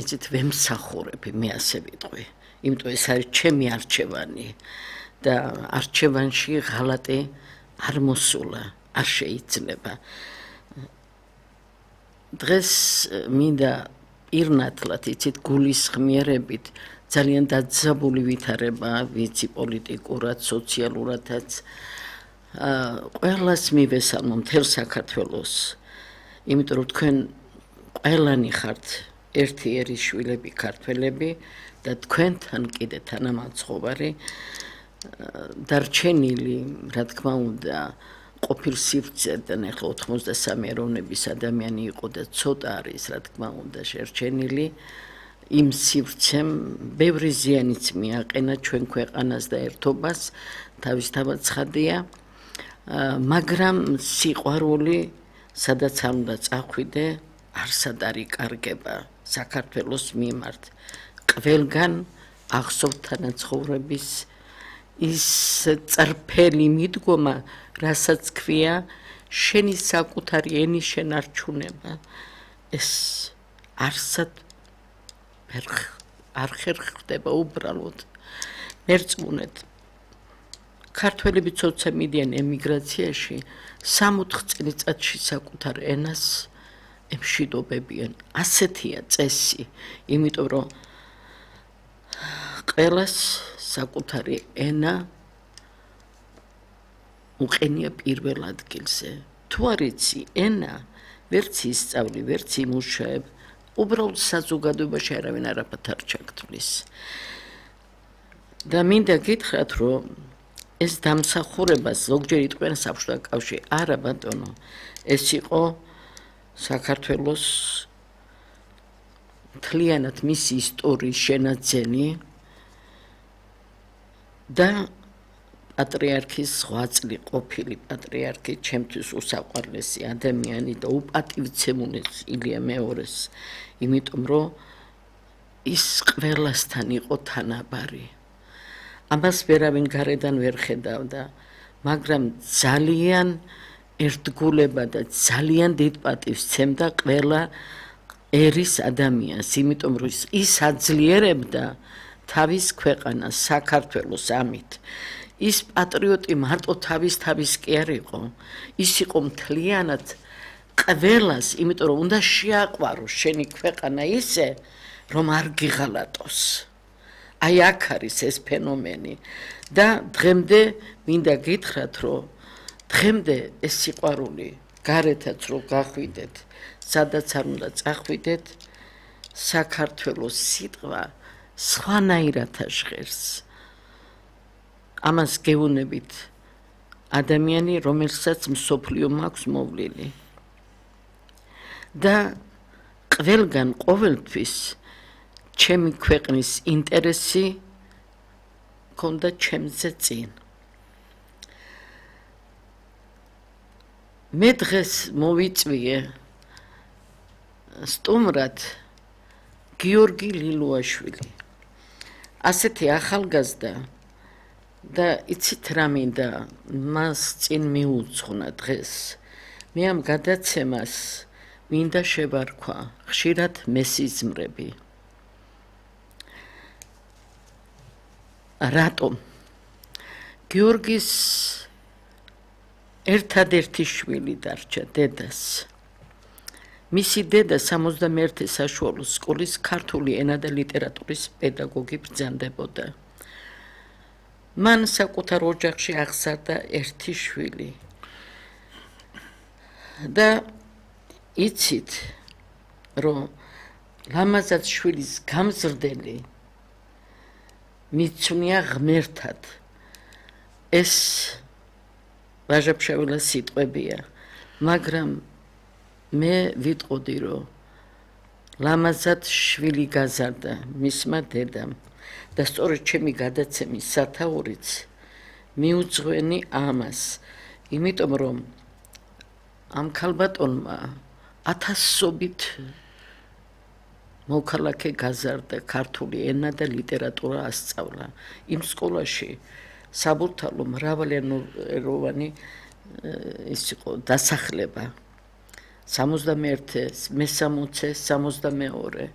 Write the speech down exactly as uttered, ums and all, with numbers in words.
იცით ვემსახურები, მე ასე ვიტყვი. იმიტომ ეს არის ჩემი არჩევანი და არჩევანში ღალატი არ მოსულა, არ შეიძლება. დღეს მინდა პირნათლად იცით გულისხმიერებით ძალიან დაძაბული ვითარება ვიცი პოლიტიკურად, სოციალურადაც ყველას მივესალმო მთელ საქართველოს. იმიტომ რომ თქვენ ყველანი ხართ ერთი ერის შვილები ქართველები და თქვენთან კიდე თანამაცხოვარი დარჩენილი, რა თქმა უნდა, ყოფილ სივრცედან ახლა ოთხმოცდასამი ეროვნების ადამიანი იყო და ცოტა არის, რა თქმა უნდა, შერჩენილი. იმ სივრცემ ბევრი ზიანიც მიაყენა ჩვენ ქვეყანას და ერთობას, თავისთავად ცხადია, მაგრამ სიყვარული, სადაც არ უნდა წახვიდე, არსად არ იკარგება საქართველოს მიმართ. ყველგან ახსოვთ თანაცხოვრების ის წრფელი მიდგომა, რასაც ქვია შენი საკუთარი ენის შენარჩუნება. ეს არსად არ ხერხდება უბრალოდ. მერწმუნეთ, ქართველები ცოცა მიდიან ემიგრაციაში, სამოთხ წელიწადში საკუთარ ენას ემშვიდობებიან. ასეთია წესი, იმიტომ რომ ყველას საკუთარი ენა უყენია პირველ ადგილზე. თუ არ იცი ენა, ვერც ისწავლი, ვერც იმუშაებ, უბრალოდ საზოგადოებაში არავინ არაფერთ არ ჩაგთვლის. და მინდა გითხრათ, რომ ეს დამსახურება ზოგჯერ იტყვიან საბჭოთა კავშირი. არა ბატონო, ეს იყო საქართველოს მთლიანად მისი ისტორიის შენაძენი და პატრიარქის ღვაწლი, ყოფილი პატრიარქი, ჩემთვის უსაყვარლესი ადამიანი და უპატივცემული ილია მეორეს, იმიტომ რომ ის ყველასთან იყო თანაბარი. ამას ვერავინ გარედან ვერ ხედავდა, მაგრამ ძალიან ერთგულება და ძალიან დიდ პატივს სცემდა ყველა ერის ადამიანს, იმიტომ რომ ის აძლიერებდა თავის ქვეყანას, საქართველოს ამით. ის პატრიოტი მარტო თავის თავის კი არ იყო, ის იყო მთლიანად ყველას, იმიტომ რომ უნდა შეაყვაროს შენი ქვეყანა ისე, რომ არ გიღალატოს. აი აქ არის ეს ფენომენი და დღემდე მინდა გითხრათ, რომ დღემდე ეს სიყვარული გარეთაც რომ გახვიდეთ, სადაც არ უნდა წახვიდეთ, საქართველოს სიტყვა სხვანაირად ჟღერს. ამას გეუბნებით ადამიანი, რომელსაც მსოფლიო მაქვს მოვლილი. და ყველგან ყოველთვის ჩემი ქვეყნის ინტერესი ქონდა ჩემზე წინ. მე დღეს მოვიწვიე სტუმრად გიორგი ლილუაშვილი. ასეთი ახალგაზრდა და იცით რა მინდა მას წინ მიუძღვნა დღეს. მე ამ გადაცემას მინდა შევარქვა ხშირად მესიზმრები. რატომ? გიორგის ერთადერთი შვილი დარჩა დედას. მისი დედა სამოცდამეერთე საშუალო სკოლის ქართული ენა და ლიტერატურის პედაგოგი ბრძანდებოდა. მან საკუთარ ოჯახში აღზარდა ერთი შვილი. და იცით, რომ ლამაზად შვილის გამზრდელი მიცვნია ღმერთად. ეს ვაჟა-ფშაველას სიტყვებია, მაგრამ მე ვიტყოდი, რომ ლამაზად შვილი გაზარდა მისმა დედამ და სწორედ ჩემი გადაცემის სათაურიც მიუძღვენი ამას, იმიტომ რომ ამ ქალბატონმა ათასობით მოქალაქე გაზარდა, ქართული ენა და ლიტერატურა ასწავლა. იმ სკოლაში საბურთალო მრავალეროვანი ის იყო დასახლება. სამოცდამეერთე, მესამოცე, სამოცდამეორე